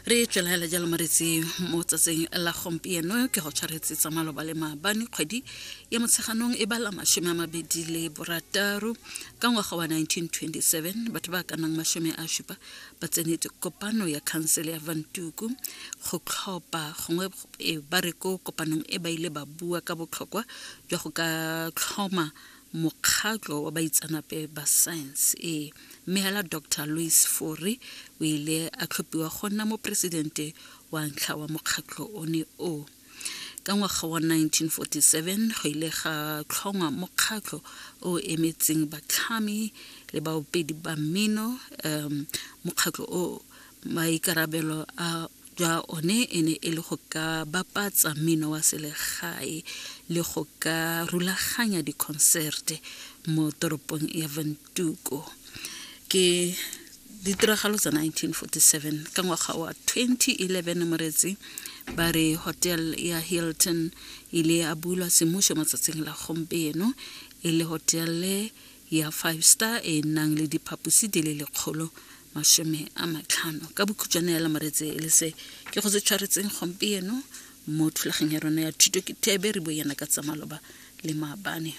Re tswelela jalo moretsi mo tsatsing la gompieno ke go tshwaretse tsa maloba le maabane. Kgwedi ya Motsheganong e bala 26 ka ngwaga wa 1927. Batho ba ka nang 70 ba tsenetse kopano ya khansele ya Vantuku go tlhopha gongwe e ba re ko kopanong e ba ile ba bua ka botlhokwa jwa go ka tlhoma mokgatlho wa baitsanape ba science e. Mme hela Dr Louis Fourie o ile a tlhophiwa go nna moporesidente wa ntlha wa mokgatlho one o. Ka ngwaga wa 1947 go ile ga tlhongwa mokgatlho o emetseng batlhami le baopedi ba mmino. Mokgatlho o maikarabelo a jwa one e ne e le go ka bapatsa mmino wa selegae le go ka rulaganya dikhonserte mo toropong ya Ventuko. Ke ditiragalo tsa 1947. Ka ngwaga wa 2011 moretsi ba re hotel ya Hilton ile ya bulwa semmušo matsatsing la gompieno e le hotele ya five star e nang le diphaposi di le 150. Ka bokhutshwane ya lamoretse e le se ke go se tshwaretseng gompieno mo thulageng ya rona ya thuto ke thebe re boyana ka tsa maloba le maabane.